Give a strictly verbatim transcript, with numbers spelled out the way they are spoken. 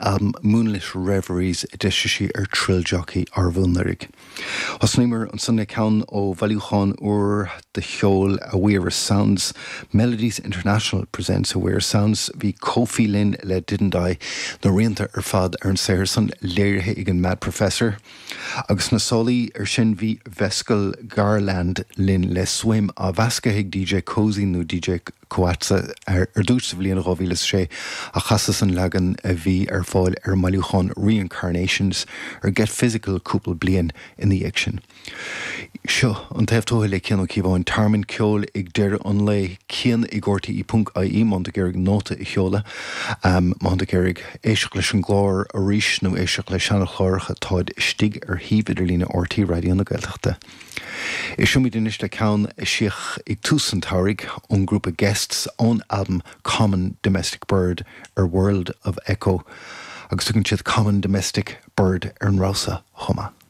albam Moonlit Reveries a d'eisigh sí ar Thrill Jockey arbh anuraidh. Thosnaíomar ansan le ceann ó bhailiúchán úr de cheol Awera Sounds, Melodies International presents Awera Sounds bhí Kofi linn le Didn't I na rianta ar fad ar an saothar san léirithe ag an Mad Professor. Agus na solaí ar sin bhí Vescal Garland linn le Swim á mheascadh ag DJ Cozy nó DJ Coatsa ar ar dtús sa bhliain dhá mhíle sé a chasas an leagan a bhí ar fáil ar an mbailiúchán Reincarnations ar Get Physical cúpla bliain ina dhiaidh sin. Seo an taobh tuaithe le Cian Ó Cíobháin tearmann ceoil ag deireadh an lae Cian ag RTE ponc IE má tá tú ag iarraidh nóta a sheoladh má tá tú ag iarraidh éisteacht leis an gclár arís nó éisteacht le seanchláracha táid istigh ar shuíomh idirlíne RTÉ Raidió na Gaeltachta. Éistfimid anois le ceann a eisíodh ag tús an tsamhraidh ón grúpa Guests ón album Common Domestic Bird ar World of Echo agus tugann siad Common Domestic Bird ar an ramhsa chomh maith.